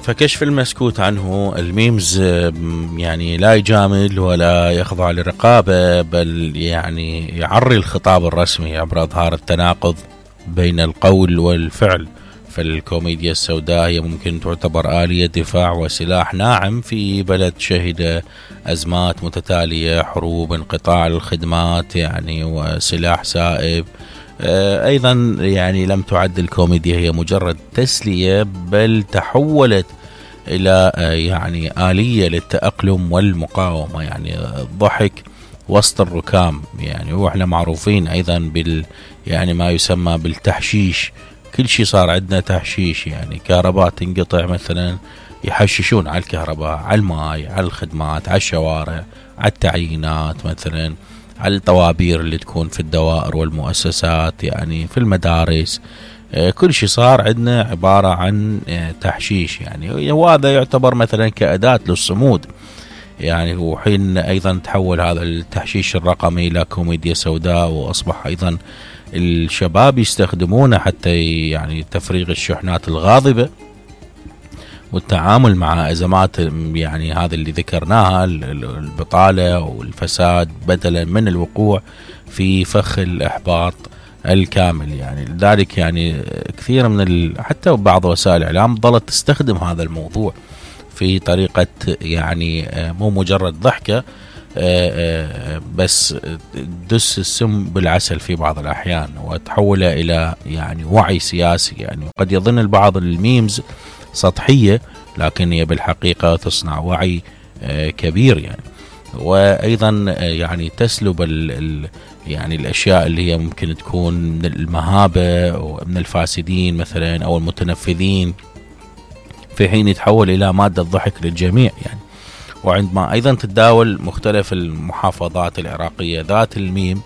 فكشف المسكوت عنه الميمز يعني لا يجامل ولا يخضع لرقابة، بل يعني يعري الخطاب الرسمي عبر إظهار التناقض بين القول والفعل. فالكوميديا السوداء هي ممكن تعتبر آلية دفاع وسلاح ناعم في بلد شهد أزمات متتالية، حروب، انقطاع الخدمات يعني، وسلاح سائب. أيضا يعني لم تعد الكوميديا هي مجرد تسلية، بل تحولت إلى يعني آلية للتأقلم والمقاومة، يعني الضحك وسط الركام يعني. وإحنا معروفين أيضا يعني ما يسمى بالتحشيش. كل شيء صار عندنا تحشيش، يعني كهرباء تنقطع مثلا يحششون على الكهرباء، على الماء، على الخدمات، على الشوارع، على التعيينات مثلا، على الطوابير اللي تكون في الدوائر والمؤسسات يعني، في المدارس. كل شيء صار عندنا عبارة عن تحشيش يعني. وهذا يعتبر مثلا كأداة للصمود يعني. وحين أيضا تحول هذا التحشيش الرقمي إلى كوميديا سوداء، وأصبح أيضا الشباب يستخدمونه حتى يعني تفريغ الشحنات الغاضبة والتعامل مع أزمات يعني هذا اللي ذكرناها، البطالة والفساد، بدلا من الوقوع في فخ الإحباط الكامل يعني. لذلك يعني كثير من حتى بعض وسائل الإعلام ظلت تستخدم هذا الموضوع في طريقة يعني مو مجرد ضحكة، بس دس السم بالعسل في بعض الأحيان، وتحوله إلى يعني وعي سياسي يعني. قد يظن البعض الميمز سطحية، لكن هي بالحقيقة تصنع وعي كبير يعني. وأيضا يعني تسلب يعني الأشياء اللي هي ممكن تكون من المهابة ومن الفاسدين مثلا أو المتنفذين، في حين يتحول إلى مادة ضحك للجميع يعني. وعندما أيضا تتداول مختلف المحافظات العراقية ذات الميم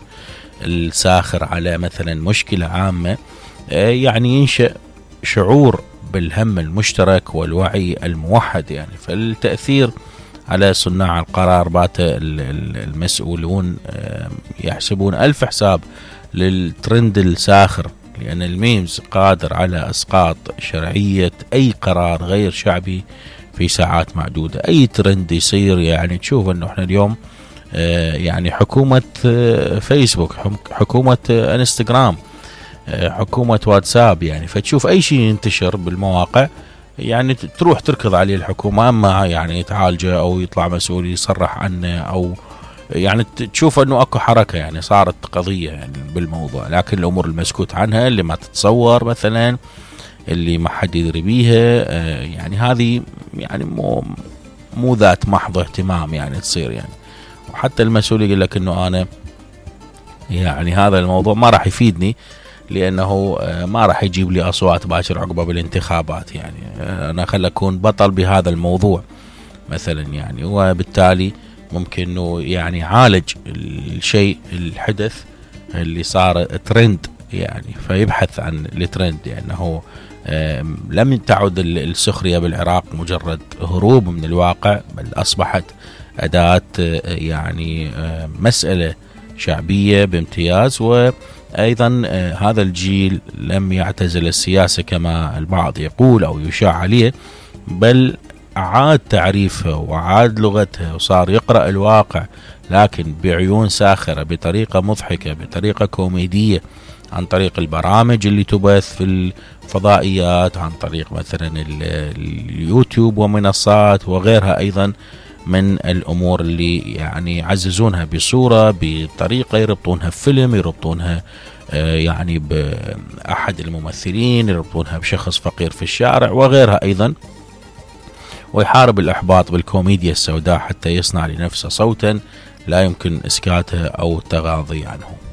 الساخر على مثلا مشكلة عامة، يعني ينشأ شعور بالهم المشترك والوعي الموحد يعني. فالتأثير على صناع القرار بات المسؤولون يحسبون ألف حساب للترند الساخر، لأن الميمز قادر على إسقاط شرعية أي قرار غير شعبي في ساعات معدودة. أي ترند يصير يعني تشوف أنه احنا اليوم يعني حكومة فيسبوك، حكومة انستغرام، حكومة واتساب يعني. فتشوف أي شيء ينتشر بالمواقع يعني تروح تركض عليه الحكومة، أما يعني يتعالجه أو يطلع مسؤول يصرح عنه، أو يعني تشوف أنه أكو حركة يعني، صارت قضية يعني بالموضوع. لكن الأمور المسكوت عنها اللي ما تتصور مثلا، اللي ما حد يدري بيها يعني، هذه يعني مو ذات محض اهتمام يعني تصير يعني. وحتى المسؤول يقول لك انه انا يعني هذا الموضوع ما راح يفيدني، لانه ما راح يجيب لي اصوات باكر عقبه بالانتخابات يعني. انا خل اكون بطل بهذا الموضوع مثلا يعني. وبالتالي ممكن انه يعني عالج الشيء الحدث اللي صار ترند يعني، فيبحث عن الترند لانه لم تعد السخرية بالعراق مجرد هروب من الواقع، بل أصبحت أداة يعني مسألة شعبية بامتياز. وأيضا هذا الجيل لم يعتزل السياسة كما البعض يقول أو يشاع عليه، بل عاد تعريفها وعاد لغتها، وصار يقرأ الواقع لكن بعيون ساخرة، بطريقة مضحكة، بطريقة كوميدية، عن طريق البرامج اللي تبث في الفضائيات، عن طريق مثلا اليوتيوب ومنصات وغيرها أيضا من الأمور اللي يعني يعززونها بصورة، بطريقة يربطونها بفيلم، يربطونها يعني بأحد الممثلين، يربطونها بشخص فقير في الشارع وغيرها أيضا. ويحارب الإحباط بالكوميديا السوداء حتى يصنع لنفسه صوتا لا يمكن إسكاته أو التغاضي عنه.